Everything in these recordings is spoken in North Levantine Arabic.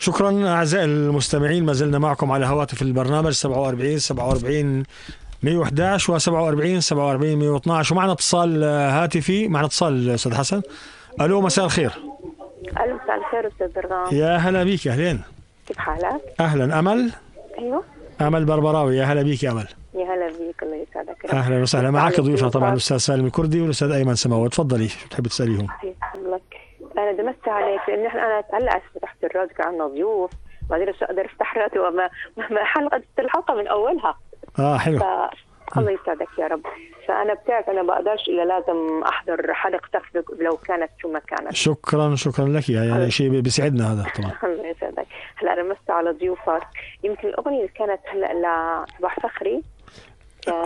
شكرا أعزائي المستمعين، ما زلنا معكم على هواتف البرنامج 47 111 و47 112 ومعنا اتصال هاتفي. معنا اتصال أستاذ حسن. ألو مساء الخير. ألو مساء الخير أستاذ درغام. يا هلا بيك. أهلين. كيف حالك؟ أهلا. أمل. أيوه أمل بربراوي. يا هلا بيك يا أمل. يا هلا بيك الله يسعدك. أهلا وسهلا. معك ضيوفنا طبعا الأستاذ سالم الكردي والأستاذ أيمن سماوي. تفضلي شو بتحبي تسأليهم؟ أنا دمست عليك لأن أنا هلا فتحت الراديو كان عندنا ضيوف ما أقدر أفتح راديو وما الحلقة من أولها. حلو. الله يسعدك يا رب. فأنا بتعرف أنا بقدرش إلا لازم أحضر حلقتك لو كانت شو ما كانت. شكرا لك يا شيء بيسعدنا هذا طبعا. الله يسعدك. هلا رمست على ضيوفك. يمكن الأغنية اللي كانت هلا لصباح فخري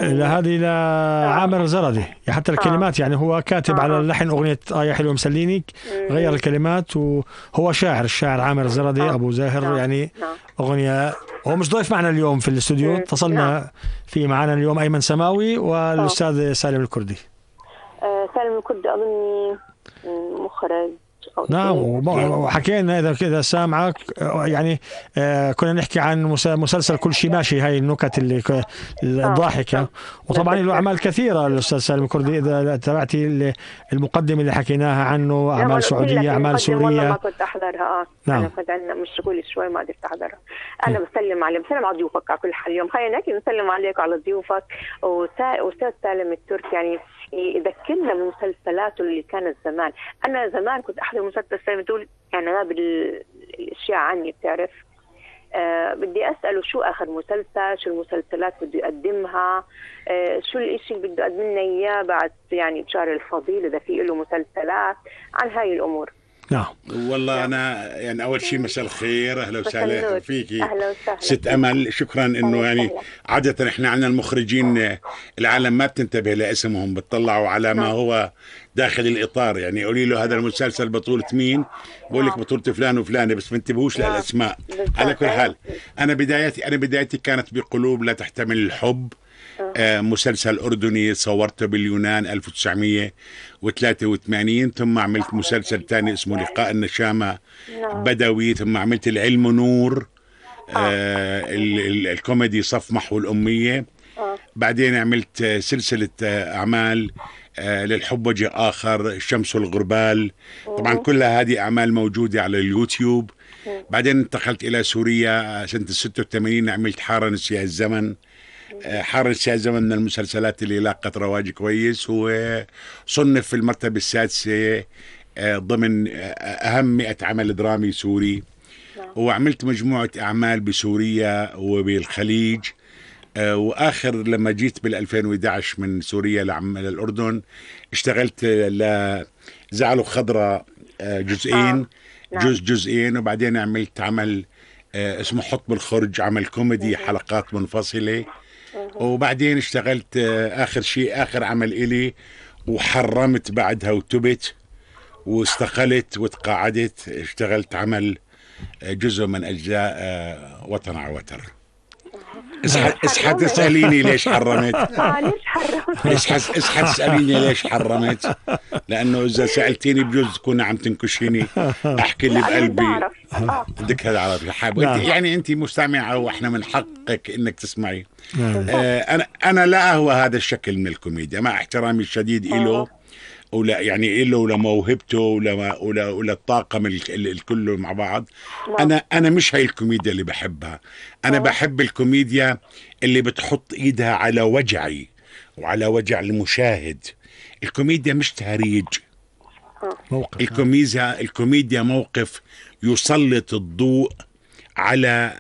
هذه لعامر زردي. حتى الكلمات يعني هو كاتب على اللحن أغنية يا حلو مسلينك، غير الكلمات وهو الشاعر عامر زردي أبو زاهر. يعني أغنية. هو مش ضيف معنا اليوم في الاستوديو، اتصلنا في معنا اليوم أيمن سماوي والأستاذ سالم الكردي. سالم الكردي أظني مخرج. نعم. وحكينا إذا سامعك يعني كنا نحكي عن مسلسل كل شيء ماشي، هاي النكت اللي الضاحكة. وطبعا له أعمال كثيرة الأستاذ سالم الكردي. إذا تابعتي المقدمة اللي حكيناها عنه، أعمال سعودية، أعمال سورية. ما كنت أحضرها. نعم. أنا كنت عندنا مشغول شوي ما قدرت أحضرها. أنا بسلم على ضيوفك على كل حال اليوم. خلينا نسلم عليك وعلى ضيوفك. وأستاذ سالم التركي يعني يذكرنا بمسلسلاته اللي كانت زمان. أنا زمان كنت أحضر مسلسل سالم تقول يعني أنا بالأشياء عني بتعرف. بدي أسأله شو آخر مسلسل، شو المسلسلات بده يقدمها، شو الإشي اللي بده يقدم لنا إياه بعد يعني بشهر الفضيل إذا في له مسلسلات عن هاي الأمور. نعم. والله أنا يعني أول شيء مساء الخير. أهلا وسهلا فيكي أهلا وسهلا ست أمل. شكرا إنه يعني عادة إحنا عندنا المخرجين العالم ما بتنتبه لاسمهم، بتطلعوا على ما هو داخل الإطار. يعني قولي له هذا المسلسل بطولة مين، بقول لك بطولة فلان وفلانة، بس ما انتبهوش للأسماء. على كل حال أنا بدايتي كانت بقلوب لا تحتمل الحب. مسلسل أردني صورته باليونان 1983. ثم عملت مسلسل تاني اسمه لقاء النشامة بدوي. ثم عملت العلم نور الكوميدي صف محو الأمية. بعدين عملت سلسلة أعمال للحب وجه آخر، الشمس والغربال. طبعا كلها هذه أعمال موجودة على اليوتيوب. بعدين انتقلت إلى سوريا سنة 86. عملت حارة نسيا الزمن. حارة نسيا الزمن من المسلسلات اللي لاقت رواج كويس، وصنف في المرتبة السادسة ضمن أهم 100 عمل درامي سوري. وعملت مجموعة أعمال بسوريا وبالخليج. وآخر لما جيت بال2011 من سوريا للأردن اشتغلت لزعلوا خضراء جزئين. جزئين. وبعدين عملت عمل اسمه حط بالخرج، عمل كوميدي حلقات منفصلة. وبعدين اشتغلت آخر عمل إلي وحرمت بعدها وتبت واستقلت وتقاعدت. اشتغلت عمل جزء من أجزاء وطن على وتر. اسحت تسأليني ليش حرمت. اسحت تسأليني ليش حرمت، لأنه إذا سألتيني بجوز تكون عم تنكشيني أحكي اللي بقلبي. بدك هذا عربي حاب يعني أنت مستمعة وإحنا من حقك إنك تسمعي. أنا لا أهوى هذا الشكل من الكوميديا مع احترامي الشديد إله ولا يعني له ولا موهبته ولا الطاقم الكل مع بعض. أنا مش هاي الكوميديا اللي بحبها. أنا بحب الكوميديا اللي بتحط إيدها على وجعي وعلى وجع المشاهد. الكوميديا مش تهريج. الكوميديا موقف يسلط الضوء على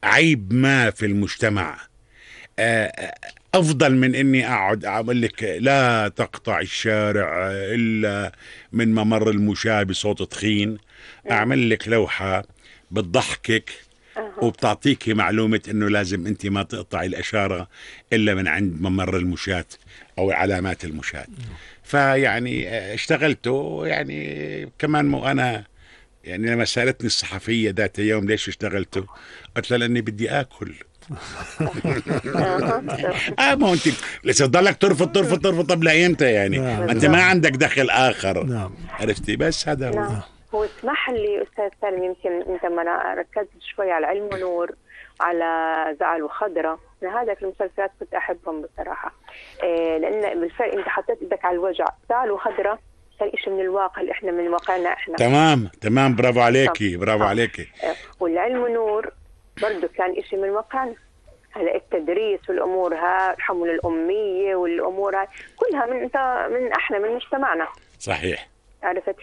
عيب ما في المجتمع. أفضل من إني أقعد أقول لك لا تقطع الشارع إلا من ممر المشاة بصوت تخين. أعمل لك لوحة بتضحكك وبتعطيكي معلومة إنه لازم أنت ما تقطعي الأشارة إلا من عند ممر المشاة أو علامات المشاة. فيعني اشتغلته يعني كمان أنا يعني لما سألتني الصحفية ذات يوم ليش اشتغلته، قلت لها لأني بدي آكل. ما انت لسه تضلك ترفض طب لا امتى يعني؟ انت ما عندك دخل اخر. عرفتي؟ بس هذا هو. هو اسمح لي أستاذ سالم، يمكن أنت ما ركزت شوي على علم ونور، على زعل وخضرة، من هذاك المسلسلات كنت أحبهم بصراحة. لأن بالفعل أنت حطيت إيدك على الوجع. زعل وخضرة كان إشي من الواقع اللي إحنا من واقعنا إحنا. تمام برافو عليكي برافو عليكي. والعلم ونور برضو كان إشي من واقعنا. هلا التدريس والأمور ها، الحمل الأمية والأمور هاي كلها من احنا من مجتمعنا. صحيح. عرفت؟